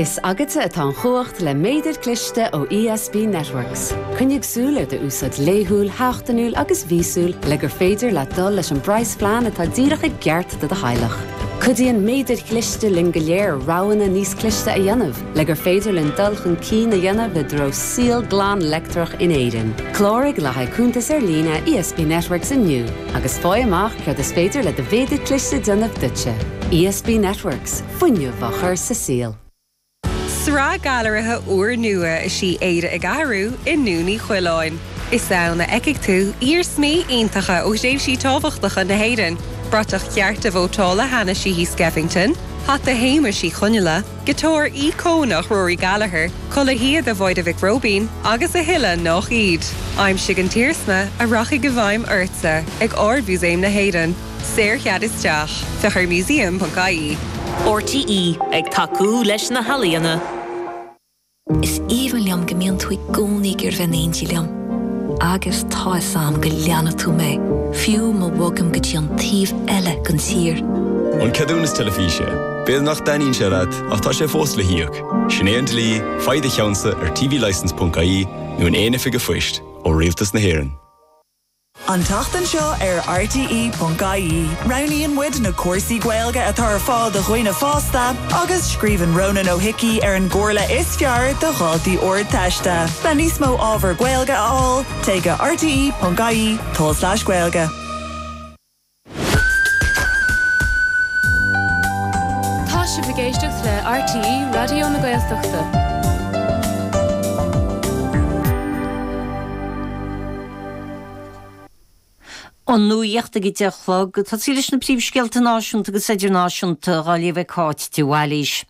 Is agatsa atá an chumhacht le méadar cliste ó ESB Networks. Coinnigh súil ar d'úsáid laethúil, sheachtainiúil agus mhíosúil le gur féidir leat dul leis an bpraghasphlean atá díreach i gceart do do theaghlach. Cuidíonn méadair chliste linn go léir roghanna níos cliste a dhéanamh le gur féidir linn dul chun cinn a dhéanamh i dtreo saol glan leictreach in Éirinn. Cláraigh le haghaidh cuntas ar líne ESB Networks inniu agus faigh amach céard is féidir le do mhéadar cliste déanamh duitse. ESB Networks. Fuinneamh á chur sa saol. Sraith gailearaithe úrnua is í Éire ag Athrú i nDún Uí Choileáin. Is ann a fheicfidh tú iarsmaí iontacha ó thréimhsí tábhachtacha na hÉireann, bratach chearta vótála Hanna Sheehy Skeffington, hata Shéamuis Uí Chonghaile, giotár íocónach Rory Gallagher, culaith shíoda Mháire Mhic Róibín agus a thuilleadh nách iad. Aimsigh an t-iarsma a rachaidh i bhfeidhm ortsa ag Ard-Mhúsaem na hÉireann. Saorchead isteach. Féach ar museum.ie. RTÉ, ag tacú leis na healaíona. Is aoibhinn liom go mbíonn tú i gcónaí ag iarraidh bheith in éindí liom. Agus tá 'fhios a'm go leanfaidh tú mé, fiú má bhogaim go dtí an taobh eile den tír. An ceadúnas teilifíse. B'fhéidir nach dtaitníonn sé leat, ach tá sé fós le híoc. Sin é an dlí, faigh do cheannsa ar tvlicence.ie nó in aon oifig an phoist ó Rialtas na hÉireann. An tseachtain seo ar RTÉ.ie, roghnaíonn muid na cúrsaí Gaeilge atá ar fáil do dhaoine fásta agus scríobhann Rónán Ó hIcí ar an gcomhairle is fearr do dhaltaí Ardteiste. Le níos mó ábhar Gaeilge a fháil, téigh go rte.ie tulslais Gaeilge. Tá sibh ag éisteacht le RTÉ Raidió na Gaeltachta. An nuacht ag 10 a chlog. Tosaí leis na príomhscéalta náisiúnta agus idirnáisiúnta dhá léamh ag Cáit de Bhailís.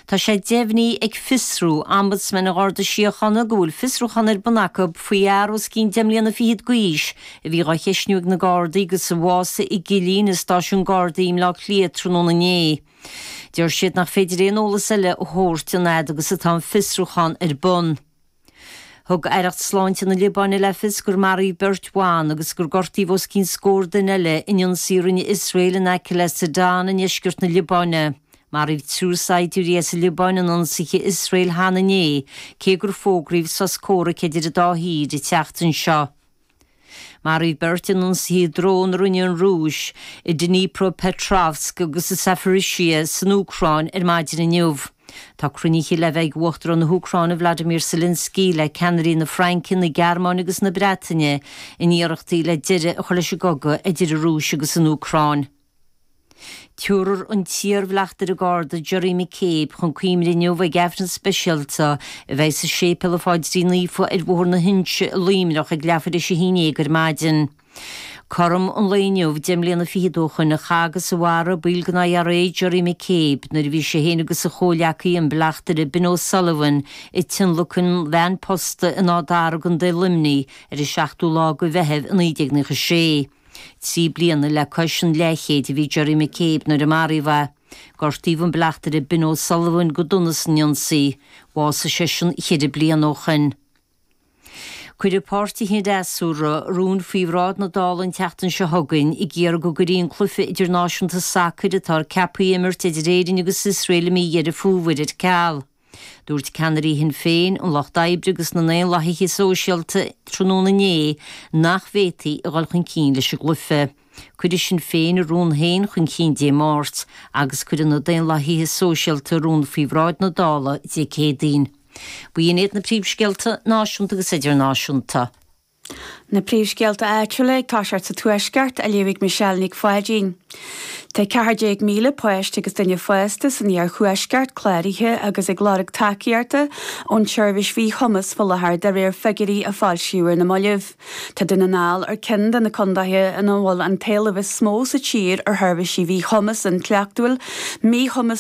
Tá sé deimhnithe ag Fiosrú, Ombudsman an Gharda Síochána, go bhfuil fiosrúchán ar bun acu faoi fhear os cionn deich mbliana fichead d'aois a bhí dhá cheistniú ag na Gardaí agus a bhásaigh i gcillín i stáisiún Gardaí i mBleá Cliath tráthnóna inné. Deir siad nach féidir aon eolas eile a thabhairt an fhad agus atá an fiosrúchán ar bun. Thug Aireacht Sláinte na Liobáine le fios gur maraíodh beirt bhan agus gur gortaíodh os cionn scór duine eile in ionsaí a rinne Iosrael in aice le Sidon i ndeisceart na Liobáine. Maraíodh triúr saighdiúirí as an Liobáin in ionsaithe Iosrael cheana inné, cé gur fógraíodh sos comhraic idir an dá thír an tseachtain seo. Maraíodh beirt in ionsaithe drón a rinne an Rúis i Dnipropetrovsk agus i Zaporizhzhia san Úcráin ar maidin inniu. Tá cruinnithe le bheith ag Uachtarán na hÚcráine Vladimir Zelensky le ceannairí na Fraince, na Gearmáine agus na Breataine in iarrachtaí le deireadh a chur leis an gcogadh idir an Rúis agus an Úcráin. Tabharfar an t-iarbhleachtaire Garda Gerry McCabe chun cuimhne inniu ag Aifreann speisialta a bheidh sa Séipéal an Pháidrín Naofa ar Bhóthar na hInse i Luimneach ag leathuair tar éis a haon déag ar maidin. Cothrom an lae inniu 10 mbliana fichead ó shoin a chaith agus a mharaigh baill den IRA Gerry McCabe nuair a bhí sé féin agus a chomhghleacaí an bleachtaire Ben O'Sullivan ag tionlacan veain posta in Áth Dara i gContae Luimnigh ar an 7ú lá de Mheitheamh i 1996. 3 bliana le cois an leathchéid a bhí Gerry McCabe nuair a maraíodh é. Gortaíodh an bleachtaire Ben O'Sullivan go dona san ionsaí. Bhásaigh seisean cheithre bliana ó shoin. Cuirfidh páirtithe an fhreasúra rún faoi bhráid na Dála an tseachtain seo chugainn ag iarraidh go gcuirfí an cluiche idirnáisiúnta sacair atá ceaptha a imirt idir Éirinn agus Iosrael i mí Dheireadh Fómhair ar ceal. Dúirt ceannairí Shinn Féin, an Lucht Oibre agus na nDaonlathaithe Sóisialta tráthnóna inné nach bhféadfaí a dhul chun cinn leis an gcluiche. Cuirfidh Sinn Féin a rún féin chun cinn Dé Máirt agus cuirfidh na Daonlathaithe Sóisialta a rún faoi bhráid na Dála Dé Céadaoin. B'in iad na príomhscéalta náisiúnta agus idirnáisiúnta. Na príomhscéalta áitiúla ag toiseacht sa Tuaisceart á léamh ag Michelle Nic Pháidín. Tá 14,000 páiste agus duine fásta san iarthuaisceart cláraithe agus ag lorg tacaíochta ón tseirbhís mhíchumais faoi láthair de réir figiúirí a foilsíodh ar na mallaibh. Tá Dún na nGall ar ceann de na contaetha ina bhfuil an t-éileamh is mó sa tír ar sheirbhísí mhíchumas intleachtúil, míchumas.